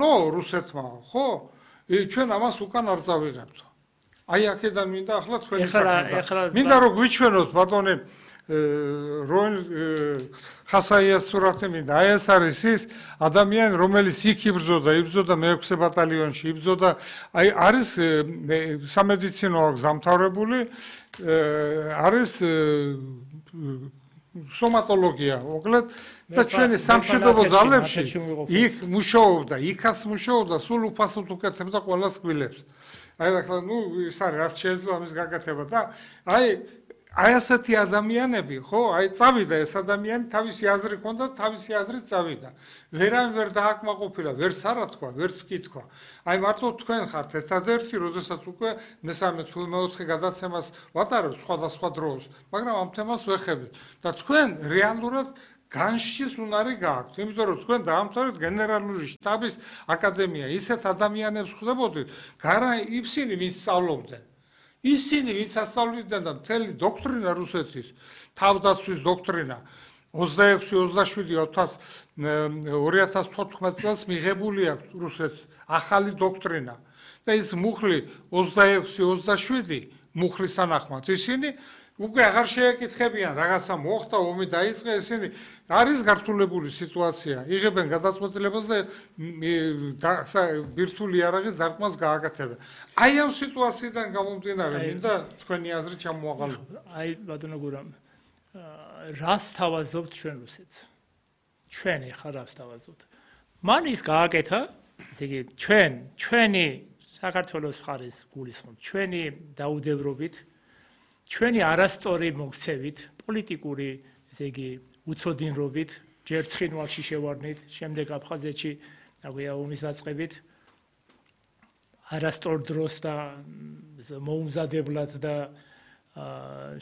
ნო რუსეთმა ხო ჩვენ ამას უკან არ წავიღებთ აი აქედან მინდა ახლა თქვენი საქმე მინდა რომ გვიჩვენოთ ბატონი როინ ხასაიას სურათი მინდა აი ეს არის ის ადამიანი რომელიც იქ იბრძოდა მე-6 ბატალიონში იბრძოდა აი არის სამედიცინო გზამთავრებული არის სტომატოლოგია მოკლედ და ჩვენი სამშვიდობო ძალებში იქ მუშაობდა იქაც მუშაობდა სულ უფასოდ უკეთებდა ყველას კბილებს აი ახლა ნუ ის არის რაც შეეძლო ამის გაკეთება და აი ასეთი ადამიანები ხო აი წავიდა ეს ადამიანი თავისი აზრი ჰქონდა თავისი აზრით წავიდა ვერავინ ვერ დააკმაყოფილა ვერც არა თქვა ვერც კი თქვა აი მარტო თქვენ ხართ ერთადერთი როდესაც უკვე მესამე თუ მეოთხე გადაცემას ვატარებ სხვადასხვა დროს მაგრამ ამ თემას ვეხებით და თქვენ რეალურად განშჩის უნარი გააქვთ იმიტომ რომ თქვენ დაამთავრეთ გენერალური შტაბის აკადემია ისეთ ადამიანებს ხვდებოდით გარა ისინი ვინც სწავლობდნენ ისინი ვინც ასწავლდნენ და მთელი დოქტრინა რუსეთის თავდაცვის დოქტრინა 26-27 წელს მიღებული აქვს რუსეთს ახალი დოქტრინა და ის მუხლი 26-27 მუხლის თანახმად ისინი უკვე აღარ შეეკითხებიან რაღაცა მოხდა ომი დაიწყე ისინი არის გართულებული სიტუაცია იღებენ გადაწყვეტილებას და ბირთვული იარაღის დარტყმას გააკეთებენ აი ამ სიტუაციიდან გამომდინარე მინდა თქვენი აზრი ჩამოაყალიბოთ აი ბატონო გურამ რას თავაზობთ ჩვენ რუსეთს ჩვენ ეხლა რას თავაზობთ მან ის გააკეთა ესე იგი ჩვენი საქართველოს მხარის გულისხმობ ჩვენი დაუდევრობით ჩვენი არასწორი მოქცევით პოლიტიკური ესე იგი უცოდინრობით ჯერ ცხინვალში შევარდნით შემდეგ აფხაზეთში აგვია ომის დაწყებით არასწორ დროს და მოუმზადებლად და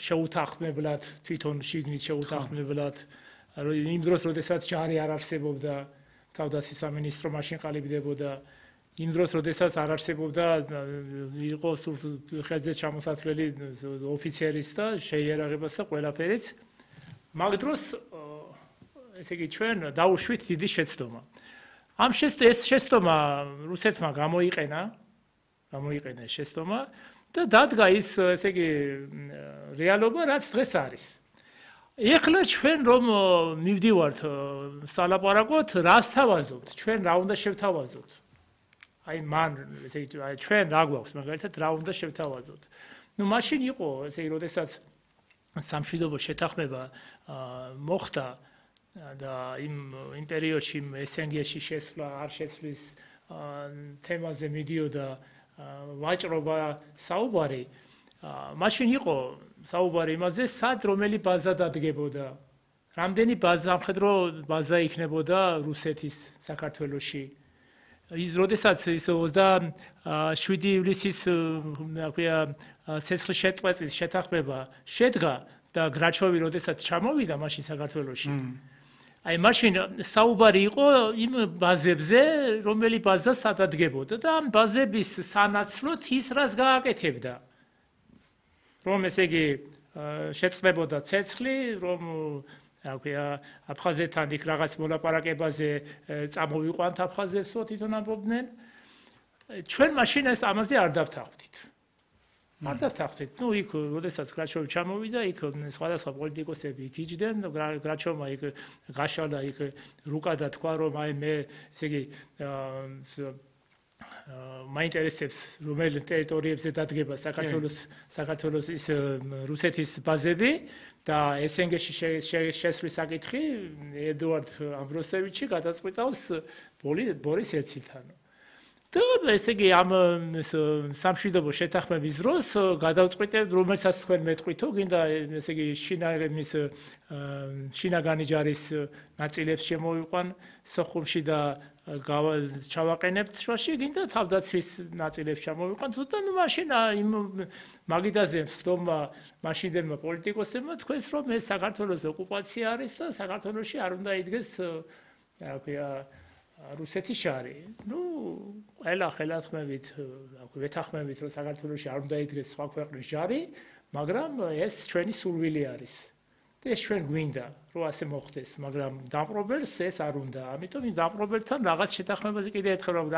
შეუთანხმებლად თვითონ შიგნით შეუთანხმებლად იმ დროს როდესაც ჯარი არ არსებობდა თავდაცვის სამინისტრო მაშინ ყალიბდებოდა იმ დროს როდესაც არ არსებობდა იყო ხელზე ჩამოსათვლელი ოფიცერის და შეიარაღებას და ყველაფერიც მაგ დროს ესე იგი ჩვენ დაუშვით დიდი შეცდომა ამ ეს შეცდომა რუსეთმა გამოიყენა ეს შეცდომა და დადგა ის ესე იგი რეალობა რაც დღეს არის ეხლა ჩვენ რომ მივდივართ სალაპარაკოთ რას თავაზობთ ჩვენ რა უნდა შევთავაზოთ აი მან ესე იგი ჩვენ რა გვაქვს მაგალითად რა უნდა შევთავაზოთ ნუ მაშინ იყო ესე იგი როდესაც სამშვიდობო შეთანხმება მოხდა და იმ პერიოდში SNG-ში შესვლა არ შესვლის თემაზე მიდიოდა ვაჭრობა საუბარი მაშინ იყო საუბარი იმაზე სად რომელი ბაზა დადგებოდა რამდენი ბაზა ამხედრო ბაზა იქნებოდა რუსეთის საქართველოში ის როდესაც ის 27 ივლისის ცეცხლის შეწყვეტის შეთანხმება შედგა და გრაჩოვი როდესაც ჩამოვიდა მაშინ საქართველოში აი მაშინ საუბარი იყო იმ ბაზებზე რომელი ბაზა სადადგებოდა და ამ ბაზების სანაცვლოდ ის რას გააკეთებდა რომ ესე იგი შეწყდებოდა ცეცხლი რომ აფხაზეთთან იქ რაღაც მოლაპარაკებაზე წამოვიყვანთ აფხაზეთსო თვითონ ამბობდნენ ჩვენ მაშინ ეს ამაზე არ დავთანხმდით არ დავთანხმდით ნუ იქ როდესაც გრაჩოვი ჩამოვიდა იქ სხვადასხვა პოლიტიკოსები იქ იჯდნენ გრაჩოვმა იქ გაშალა იქ რუკა და თქვა რომ აი მე ესე იგი მაინტერესებს რომელი ტერიტორიებზე დადგება საქართველოს ის რუსეთის ბაზები და SNG-ში შესვლის საკითხი ედუარდ ამბროსევიჩი გადაწყვიტავს ბორის ელცილთან და ესე იგი ამ სამშვიდობო შეთანხმების დროს გადავწყვიტებთ რომელსაც თქვენ მეტყვითო გინდა ესე იგი შინაგანი ჯარის ნაწილებს შემოვიყვან სოხუმში და ჩავაყენებთ შუაში გინდა თავდაცვის ნაწილებს ჩამოვიყვანთ და ნუ მაშინ იმ მაგიდაზე მსდომმა მაშინდელმა პოლიტიკოსებმა თქვენს რომ ეს საქართველოს ოკუპაცია არის და საქართველოში არ უნდა იდგეს რა ქვია რუსეთის ჯარი. ნუ ყველა ხელათქმებით, ვეთანხმებით რომ საქართველოში არ უნდა იდგეს სხვა ქვეყნის ჯარი, მაგრამ ეს ჩვენი სურვილი არის. და ეს ჩვენ გვინდა, რომ ასე მოხდეს, მაგრამ დამპყრობელს ეს არ უნდა. ამიტომ იმ დამპყრობელთან რაღაც შეთანხმებაზე კიდე ერთხელ